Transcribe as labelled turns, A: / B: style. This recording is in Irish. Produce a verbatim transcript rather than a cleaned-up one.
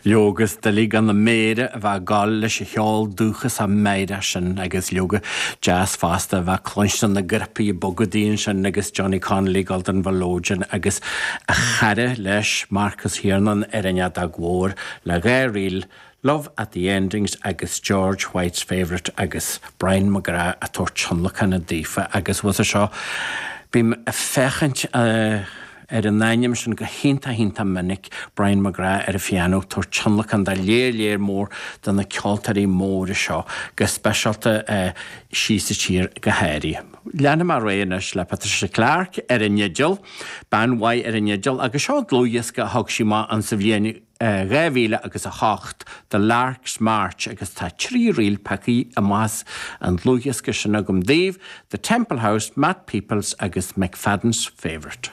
A: Leoga is doiligh gan na méara a bheith ag gabháil leis an cheol dúchasach meidhreach sin agus leoga deas fosta a bheith cluinstin na grupaí bogadaí ansin agus Johnny Connolly ag gabháil don mhiolóidean agus a chara leis Marcus Hiernan ar an fheadóg mhór le dhá ríl Love at the Endings agus George White's Favourite agus Brian McGrath ag tabhairt tionlacan daofa agus bhfuil seo bím ag féachaint ar an ainm sin go hiontach iontach minic Brian McGrath ar an phianó tabhairt tionlacan do léir léir mór de na ceoltóirí móra seo go speisialta síos sa tír go háirithe. Leanfaidh mé ar aghaidh anois le Patricia Clarke ar an fhidil, bean mhaith ar an fhidil agus seo dlúthdhiosca a thug sí amach an sa bhliain dhá mhíle agus a hocht The Lark's March agus tá trí ríl pioctha amach as an dlúthdhiosca sin agam daoibh, The Temple House, Matt Peoples agus McFadden's Favourite.